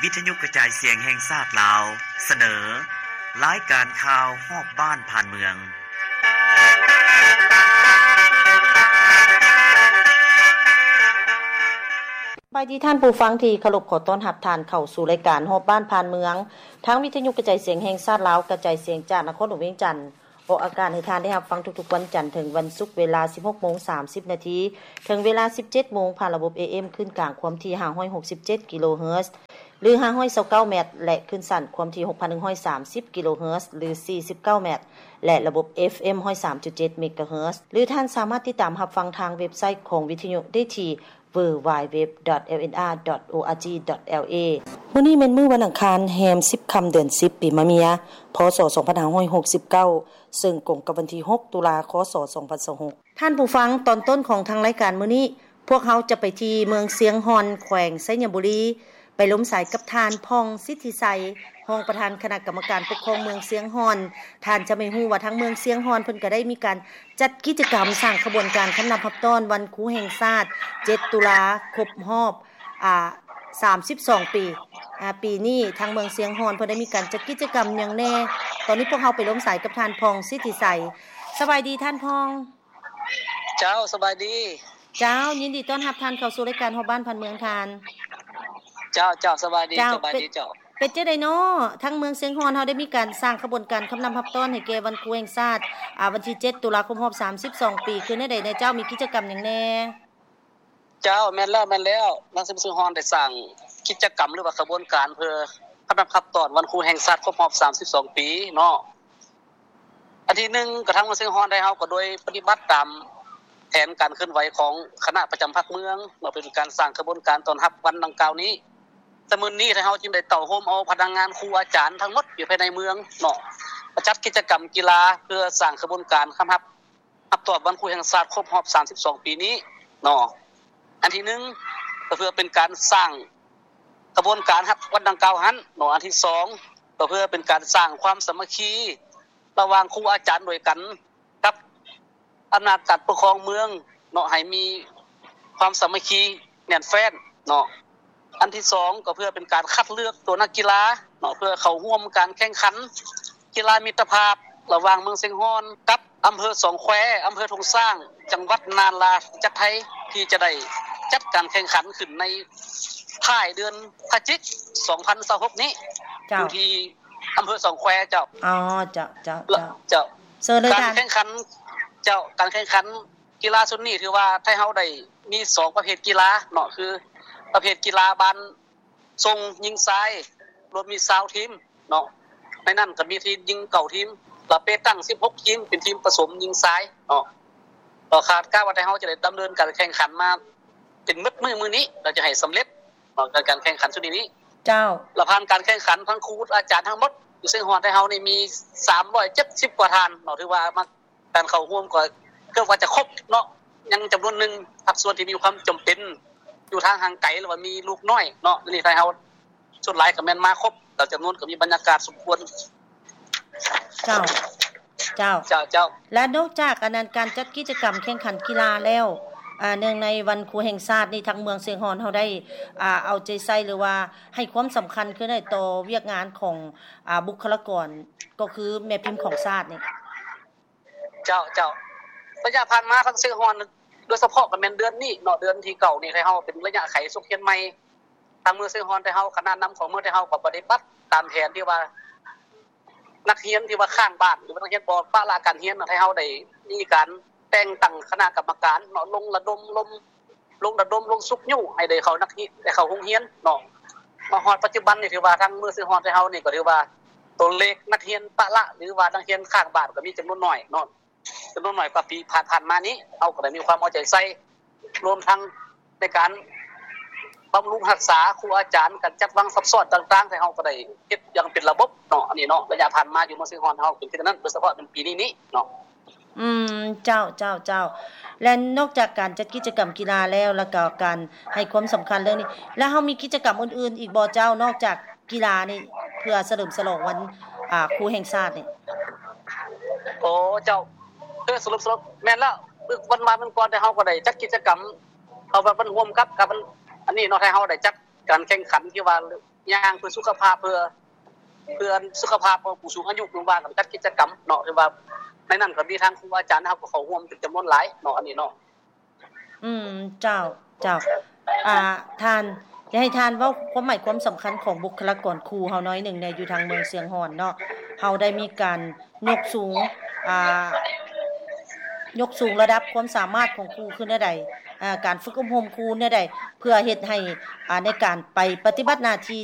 ວິທະຍຸກະຈາຍສຽງແຫ່ງຊາດລາວ ສະເໜີ ລາຍການຂ່າວຮອບບ້ານຜ່ານເມືອງ. ສະບາຍດີທ່ານຜູ້ຟັງທີ່ເຄົາລົບ, ຂໍຕ້ອນຮັບທ່ານເຂົ້າສູ່ລາຍການຮອບບ້ານຜ່ານເມືອງ ທາງວິທະຍຸກະຈາຍສຽງແຫ່ງຊາດລາວ ກະຈາຍສຽງຈາກນະຄອນຫຼວງວຽງຈັນ. ອອກອາກາດໃຫ້ທ່ານໄດ້ຮັບຟັງທຸກໆວັນຈັນເຖິງວັນສຸກ ເວລາສິບຫົກໂມງສາມສິບນາທີ ເຖິງເວລາສິບເຈັດໂມງ ຜ່ານລະບົບ ເອເອັມ ຄື້ນກາງຄວາມຖີ່ຫ້າຮ້ອຍຫົກສິບເຈັດກິໂລເຮີດ ຫຼື ຫ້າຮ້ອຍຊາວເກົ້າແມັດ ແລະ ຄື້ນສັ້ນຄວາມຖີ່ຫົກພັນໜຶ່ງຮ້ອຍສາມສິບກິໂລເຮີດ ຫຼື ສີ່ສິບເກົ້າແມັດ ແລະ ລະບົບ ເອຟເອັມ ຮ້ອຍສາມຈຸດເຈັດເມກາເຮີດ ຫຼື ທ່ານສາມາດຕິດຕາມຮັບຟັງທາງເວັບໄຊຂອງວິທະຍຸໄດ້ທີ່ ดับเบิลยู ดับเบิลยู ดับเบิลยู ดอท เอล เอ็น อาร์ ดอท โอ อาร์ จี ดอท แอล เอ ມື້ນີ້ແມ່ນມື້ວັນອັງຄານ ແຮມສິບຄ່ຳ ເດືອນສິບ ປີມະເມຍ ພ.ສ. ສອງພັນຫ້າຮ້ອຍຫົກສິບເກົ້າ ເຊິ່ງກົງກັບວັນທີຫົກ ຕຸລາ ຄ.ສ. ສອງພັນຊາວຫົກ. ທ່ານຜູ້ຟັງ, ຕອນຕົ້ນຂອງທາງລາຍການມື້ນີ້ ພວກເຮົາຈະໄປທີ່ເມືອງຊຽງຮ່ອນ ແຂວງໄຊຍະບູລີ ໄປລົມສາຍກັບທ່ານ ຜ່ອງ ສິດທິໄຊ ຮອງປະທານຄະນະກຳມະການປົກຄອງເມືອງຊຽງຮ່ອນ. ທ່ານຈະໄດ້ຮູ້ວ່າທາງເມືອງຊຽງຮ່ອນເພິ່ນກະໄດ້ມີການ ຈັດກິດຈະກຳສ້າງຂະບວນການຄຳນັບຮັບຕ້ອນວັນຄູແຫ່ງຊາດ ເຈັດ ຕຸລາ ຄົບຮອບ ອາ ສາມສິບສອງປີ. ອາ ປີນີ້ທາງເມືອງຊຽງຮ່ອນເພິ່ນໄດ້ມີການຈັດກິດຈະກຳຫຍັງແດ່? ຕອນນີ້ພວກເຮົາໄປລົມສາຍກັບທ່ານ ຜ່ອງ ສິດທິໄຊ. ສະບາຍດີທ່ານ ຜ່ອງ. ເຈົ້າ ສະບາຍດີ. ເຈົ້າ ຍິນດີຕ້ອນຮັບທ່ານເຂົ້າສູ່ລາຍການຮອບບ້ານຜ່ານເມືອງທ່ານ. ເຈົ້າ ເຈົ້າ ສະບາຍດີ. ເຈົ້າ ສະບາຍດີເຈົ້າ. ເປັນ ເປັນຈັ່ງໃດນໍ? ທາງເມືອງຊຽງຮ່ອນເຮົາໄດ້ມີການສ້າງຂະບວນການຄຳນັບຮັບຕ້ອນໃຫ້ແກ່ວັນຄູແຫ່ງຊາດ ອາ ວັນທີເຈັດ ຕຸລາ ຄົບຮອບສາມສິບສອງປີ ຄືແນວໃດແດ່ເຈົ້າ? ມີກິດຈະກຳຫຍັງແດ່? ເຈົ້າ ແມ່ນແລ້ວ ແມ່ນແລ້ວ. ທາງເມືອງຊຽງຮ່ອນໄດ້ສ້າງກິດຈະກຳ ຫຼືວ່າຂະບວນການເພື່ອຄຳນັບຮັບຕ້ອນວັນຄູແຫ່ງຊາດຄົບຮອບສາມສິບສອງປີເນາະ. ອັນທີໜຶ່ງ ກະທາງເມືອງຊຽງຮ່ອນໄທເຮົາກະໂດຍປະຕິບັດຕາມແຜນການເຄື່ອນໄຫວຂອງຄະນະປະຈຳພັກເມືອງ ເພື່ອເປັນການສ້າງຂະບວນການຕ້ອນຮັບວັນດັ່ງກ່າວນີ້. ແຕ່ມື້ນີ້ໄທເຮົາຈຶ່ງໄດ້ເຕົ້າໂຮມເອົາພະນັກງານຄູອາຈານທັງໝົດຢູ່ພາຍໃນເມືອງເນາະ ມາຈັດກິດຈະກຳກິລາເພື່ອສ້າງຂະບວນການຄຳຮັບ ຮັບຕອບວັນຄູແຫ່ງຊາດຄົບຮອບສາມສິບສອງປີນີ້ເນາະ. ອັນທີໜຶ່ງ ກະເພື່ອເປັນການສ້າງຂະບວນການຮັບວັນດັ່ງກ່າວຫັ້ນເນາະ. ອັນທີສອງ ກະເພື່ອເປັນການສ້າງຄວາມສາມັກຄີລະຫວ່າງຄູອາຈານດ້ວຍກັນກັບອຳນາດການປົກຄອງເມືອງເນາະ ໃຫ້ມີຄວາມສາມັກຄີແໜ້ນແຟ້ນເນາະ. ອັນທີສອງ ກະເພື່ອເປັນການຄັດເລືອກຕົວນັກກິລາເນາະ ເພື່ອເຂົ້າຮ່ວມການແຂ່ງຂັນກິລາມິດຕະພາບລະຫວ່າງເມືອງຊຽງຮ່ອນກັບ ອຳເພີສອງແຄ, ອຳເພີທົ່ງຊ້າງ, ຈັງຫວັດນາລາທິວາດລັດໄທ ທີ່ຈະໄດ້ຈັດການແຂ່ງຂັນຂຶ້ນໃນທ້າຍເດືອນພະຈິກ ສອງພັນຊາວຫົກນີ້ ເຈົ້າ ຢູ່ທີ່ອຳເພີສອງແຄເຈົ້າ. ອໍ ເຈົ້າ ເຈົ້າ ເຈົ້າ ເຈົ້າ ເຊີນເລີຍ ການແຂ່ງຂັນ ເຈົ້າ ການແຂ່ງຂັນກິລາຊຸດນີ້ຖືວ່າໄທເຮົາໄດ້ມີສອງປະເພດກິລາເນາະ ຄືປະເພດກິລາບານ ສົ່ງຍິງຊາຍລວມມີຊາວທີມເນາະ ໃນນັ້ນກະມີທີມຍິງເກົ້າທີມ ລະເປຕັ້ງສິບຫົກທີມ ເປັນທີມປະສົມຍິງຊາຍເນາະ. ກະຄາດການວ່າໄທເຮົາຈະໄດ້ດຳເນີນການແຂ່ງຂັນມາເປັນໝົດມື້ມື້ນີ້ ລະຈະໃຫ້ສຳເລັດເນາະ ການແຂ່ງຂັນຊຸດນີ້. ເຈົ້າ ລະຜ່ານການແຂ່ງຂັນ ທັງຄູອາຈານທັງໝົດຢູ່ຊຽງຮ່ອນໄທເຮົານີ້ມີສາມຮ້ອຍເຈັດສິບກວ່າທ່ານເນາະ ຖືວ່າມາ ການເຂົ້າຮ່ວມກໍເກືອບວ່າຈະຄົບເນາະ ຍັງຈຳນວນໜຶ່ງພາກສ່ວນທີ່ມີຄວາມຈຳເປັນຢູ່ທາງຫ່າງໄກ ຫຼືວ່າມີລູກນ້ອຍເນາະ ອັນນີ້ໄທເຮົາສ່ວນຫຼາຍກະແມ່ນມາຄົບ ແລ້ວຈຳນວນກະມີບັນຍາກາດສົມຄວນ. ເຈົ້າ ເຈົ້າ ເຈົ້າ ເຈົ້າ. ແລະນອກຈາກອັນນັ້ນ ການຈັດກິດຈະກຳແຂ່ງຂັນກິລາແລ້ວ ອາ ເນື່ອງໃນວັນຄູແຫ່ງຊາດນີ້ ທາງເມືອງຊຽງຮ່ອນເຮົາໄດ້ ອາ ເອົາໃຈໃສ່ ຫຼືວ່າໃຫ້ຄວາມສຳຄັນຄືໃດຕໍ່ວຽກງານຂອງ ອາ ບຸກຄະລາກອນ ກໍຄືແມ່ພິມຂອງຊາດນີ້? ເຈົ້າ ເຈົ້າ ໄລຍະຜ່ານມາທາງຊຽງຮ່ອນ ໂດຍສະເພາະກະແມ່ນເດືອນນີ້ເນາະ ເດືອນທີເກົ້ານີ້ ໄທເຮົາເປັນໄລຍະໄຂສົກຮຽນໃໝ່ ທາງເມືອງຊຽງຮ່ອນໄທເຮົາ ຄະນະນຳຂອງເມືອງໄທເຮົາກະປະຕິບັດຕາມແຜນທີ່ວ່າ ນັກຮຽນທີ່ວ່າຄ້າງບ້ານ ຫຼືວ່ານັກຮຽນບໍ່ປະລະການຮຽນ ໄທເຮົາໄດ້ມີການແຕ່ງຕັ້ງຄະນະກຳມະການເນາະ ລົງລະດົມລົມ ລົງລະດົມລົງຊຸກຍູ້ໃຫ້ໄດ້ເຂົ້າ ນັກຮຽນໄດ້ເຂົ້າໂຮງຮຽນເນາະ. ມາຮອດປັດຈຸບັນນີ້ ຖືວ່າທາງເມືອງຊຽງຮ່ອນໄທເຮົານີ້ກະຖືວ່າ ໂຕເລກນັກຮຽນປະລະ ຫຼືວ່ານັກຮຽນຄ້າງບ້ານກະມີຈຳນວນໜ້ອຍເນາະ ຈຳນວນໜ້ອຍກວ່າປີຜ່ານໆມານີ້. ເຮົາກະໄດ້ມີຄວາມເອົາໃຈໃສ່ ລວມທັງໃນການບຳລຸງຮັກສາຄູອາຈານ ການຈັດວາງຊັບຊ້ອນຕ່າງໆ ທີ່ເຮົາກະໄດ້ເຮັດຢ່າງເປັນລະບົບເນາະ ອັນນີ້ເນາະ ໄລຍະຜ່ານມາຢູ່ເມືອງຊຽງຮ່ອນເຮົາ ເປັນຄືນັ້ນ ໂດຍສະເພາະເປັນປີນີ້ນີ້ເນາະ. ອືມ ເຈົ້າ ເຈົ້າ ເຈົ້າ. ແລະນອກຈາກການຈັດກິດຈະກຳກິລາແລ້ວ ແລ້ວກະການໃຫ້ຄວາມສຳຄັນເລື່ອງນີ້ ແລ້ວເຮົາມີກິດຈະກຳອື່ນໆອີກບໍ່ເຈົ້າ ນອກຈາກກິລານີ້ ເພື່ອສະເຫຼີມສະຫຼອງວັນ ອາ ຄູແຫ່ງຊາດນີ້? ໂອ ເຈົ້າ ເພື່ອສະເຫຼີມສະຫຼອງ ແມ່ນແລ້ວ ວັນວານວັນກ່ອນ ໄທເຮົາກະໄດ້ຈັດກິດຈະກຳ ເອົາແບບມັນຮ່ວມກັບ ກັບອັນ ອັນນີ້ເນາະ ໄທເຮົາໄດ້ຈັດການແຂ່ງຂັນທີ່ວ່າ ຍ່າງເພື່ອສຸຂະພາບ ເພື່ອ ເພື່ອສຸຂະພາບຂອງຜູ້ສູງອາຍຸ ຫຼືວ່າການຈັດກິດຈະກຳເນາະ ຫຼືວ່າໃນນັ້ນກໍມີທາງຄູອາຈານເຮົາກໍເຂົ້າຮ່ວມເປັນຈຳນວນຫຼາຍເນາະ ອັນນີ້ເນາະ. ອືມ ເຈົ້າ ເຈົ້າ ອ່າ ທ່ານ ຢາກໃຫ້ທ່ານເວົ້າຄວາມໝາຍຄວາມສຳຄັນຂອງບຸກຄະລາກອນຄູເຮົາໜ້ອຍໜຶ່ງແດ່ ຢູ່ທາງເມືອງຊຽງຮ່ອນເນາະ ເຮົາໄດ້ມີການຍົກສູງ ອ່າ ຍົກສູງລະດັບຄວາມສາມາດຂອງຄູຄືແນວໃດ ອ່າ ການຝຶກອົບຮົມຄູແນວໃດ ເພື່ອເຮັດໃຫ້ ອ່າ ໃນການໄປປະຕິບັດໜ້າທີ່